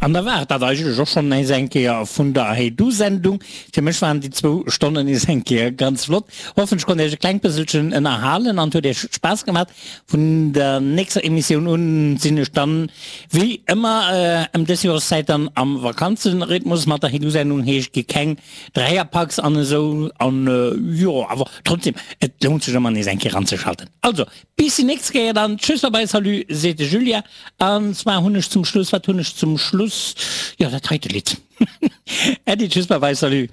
An da war et dat eigentlech och schonn nees eng Kéier vun der Hey Du Sendung. Fir mech waren déi zwou Stonnen nees eng Kéier ganz flott. Hoffen ech konnt iech e klengt bësselchen ënnerhalen an et huet iech Spaass gemat. Vun der nächster Emissioun un sinn ech dann wéi ëmmer ëm dës Joreszäit dann am Vakanzenrhythmus mat der Hey Du Sendung, heescht gi keng Dräierpacks an esou an jo awer trotzdem et lount sech ëmmer nees eng Kéier ranzeschalten. Also Bis déi nächst Kéier dann. Tschüss, bye bye, salut, seet de Julien. An zwar hunn ech zum Schluss, wat hunn ech zum Schluss? Jo, dat heite Lidd. Äddi, tschüss, bye bye, salut.